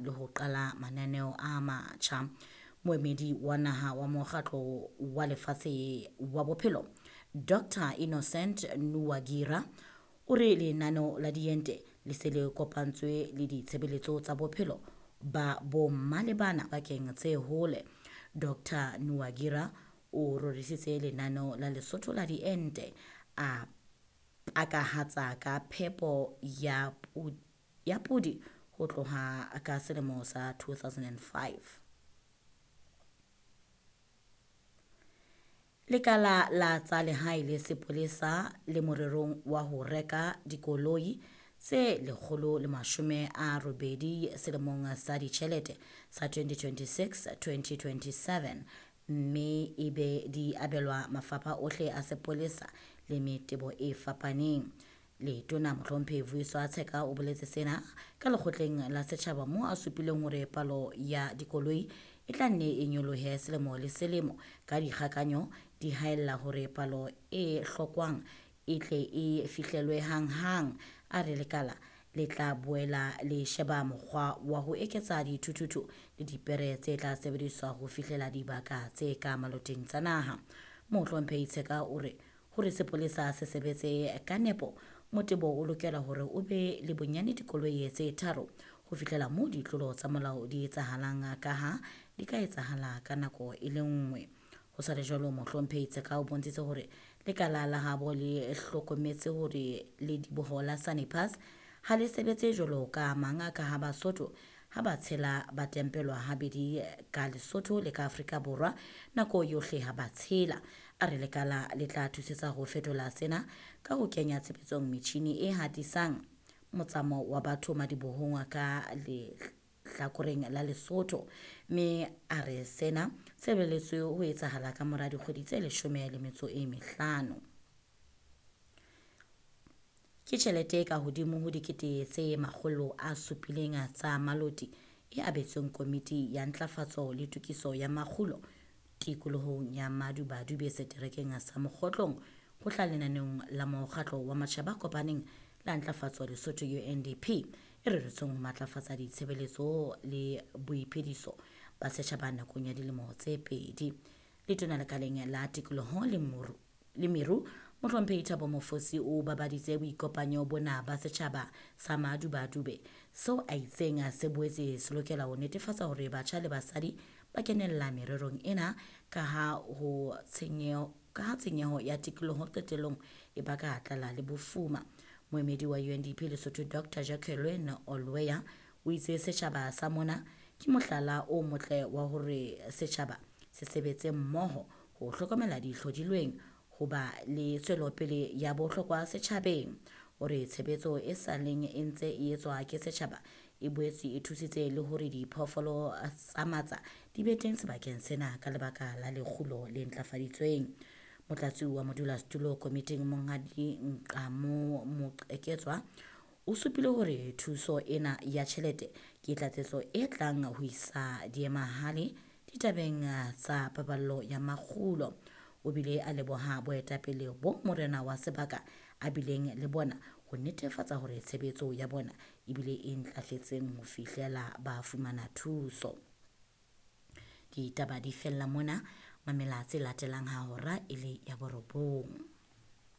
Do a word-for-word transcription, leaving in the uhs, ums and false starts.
le ho qala mananeo a matjha. Moemedi wa naha wa Mokgatlo wa Lefatshe wa Bophelo, Doctor Innocent Nuwagira, o re lenaneo la diente le se le kopantswe le ditshebeletso tsa bophelo ba bomma le bana bakeng tse hole. Doctor Nuwagira o rorisitse lenaneo la Lesotho la diente, a pakahatsa ka phepo ya ya podi ho tloha ka selemo sa two thousand five. Lekala la tsa lehae le sepolesa le morerong wa ho reka dikoloi tse lekgolo le mashome a robedi selemong sa ditjhelete sa twenty twenty-six twenty twenty-seven, mme ebe di abelwa mafapha ohle a sepolesa le metebo e fapaneng. Letona Mohlomphehi Vuyiswa Tsheka o boletse sena ka lekgotleng la setjhaba moo a supileng hore palo ya dikoloi e tla nne e nyolohe selemo le selemo ka dikgakanyo di haella hore palo e hlokwang e tle e fihlelwe hanghang. A re lekala le tla boela le sheba mokgwa wa ho eketsa dithuthuthu le dipere tse tla sebediswa ho fihlela dibaka tse ka maloteng tsa naha. Mohlomphehi Tsheka o re hore sepolesa se sebetse ka nepo, motebo o lokela hore o be le bonyane dikoloi tse tharo ho fihlela moo ditlolo tsa molao di etsahalang, ka ha di ka etsahala ka nako e le nngwe. Ho sa le jwalo, Mohlomphehi Tsheka o bontshitse hore lekala la habo le hlokometse hore lediboho la Sani Pass ha le sebetse jwalo ka mang, ka ha Basotho ha ba tshela ba tempelwa habedi ka Lesotho le ka Afrika Borwa nako yohle ha ba tshela. A re lekala le tla thusetsa ho fetola sena ka ho kenya tshebetsong metjhini e hatisang motsamao wa batho madibohong ka lehlakoreng la Lesotho, mme a re sena se lebelletswe ho etsahala ka mora dikgwedi tse leshome le metso e mehlano. Ke tjhelete e ka hodimo ho dikete tse makgolo a supileng tsa maloti e abetsweng komiti ya ntlafatso le tokiso ya makgulo tikolohong ya Madubadube seterekeng sa Mokgotlong ho tla lenaneong la Mokgatlo wa Matjhaba a Kopaneng la Ntlafatso Lesotho U N D P e reretsweng ho matlafatsa ditshebeletso le boiphediso ba setjhaba nakong ya dilemo tse pedi. Letona lekaleng la tikoloho le moru le meru Mohlomphehi Thabo Mofosi o babaditse boikopanyo bona ba setjhaba sa Madubadube seo a itseng se boetse se lokela ho netefatsa hore batjha le basadi ba kenella mererong ena, ka ha ho tshenyeho, ka ha tshenyeho ya tikoloho qetellong e baka tlala le bofuma. Moemedi wa U N D P Lesotho Doctor Jacqueline Olweya o itse setjhaba sa mona ke mohlala o motle wa hore setjhaba se sebetse mmoho ho hlokomela dihlodilweng ho ba le tswelopele ya bohlokwa setjhabeng. O re tshebetso e sa leng e ntse e etswa ke setjhaba e boetse e thusitse le hore diphoofolo tsa matsa di be teng sebakeng sena ka lebaka la lekgulo le ntlafaditsweng. Motlatsi wa modulasetulo komiting Monghadi Nqamo Moqeketswa o supile hore thuso ena ya tjhelete ke tlatsetso e tlang ho isa diemahale ditabeng tsa paballo ya makgulo. O bile a leboha boetapele bo morena wa sebaka a bileng le bona ho netefatsa hore tshebetso ya bona ebile e ntlafetseng ho fihlela ba fumana thuso. Ditaba di fella mona, mamela tse latelang ha hora e le ya borobong.